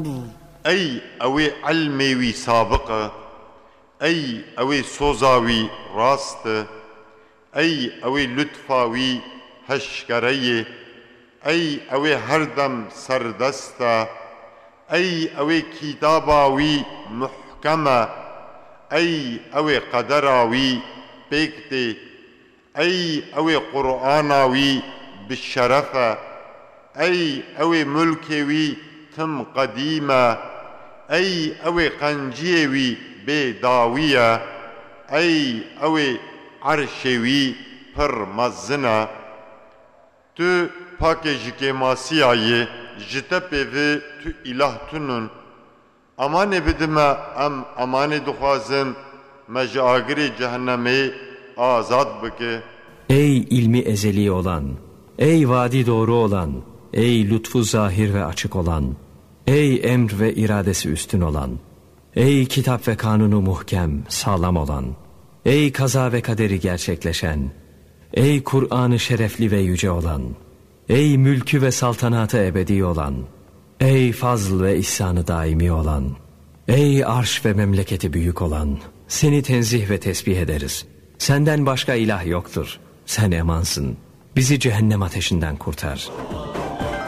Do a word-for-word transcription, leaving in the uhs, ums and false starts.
bû. Ey ew ê ilmê wî sabiq e, ey ew ê soza wî rast e, ey ew ê lutfa wî heşkere ye, ey ew ê her dem serdest e, ey ew ê kitaba wî muhkem e, ey ew ê qedera wî pêk tê, ey ew ê Qur'ana wî bi şeref e, ey ew ê mulkê wî tim qedîm e, ey ew ê qenciyê wî bê dawî ye, ey ew ê erşê wî pir mezin e. Tu pakê ji kêmasiya yê, ji te pê vi tu îlah tunun. Amanê bidi me, em amanê dixwazin, me ji agirê cehennemê azad bike. Ey ilmi ezeli olan, ey vaadi doğru olan, ey lütfu zahir ve açık olan, ey emr ve iradesi üstün olan, ey kitap ve kanunu muhkem, sağlam olan, ey kaza ve kaderi gerçekleşen, ey Kur'an'ı şerefli ve yüce olan, ey mülkü ve saltanatı ebedi olan, ey fazl ve ihsanı daimi olan, ey arş ve memleketi büyük olan, seni tenzih ve tesbih ederiz. Senden başka ilah yoktur. Sen emansın. Bizi cehennem ateşinden kurtar.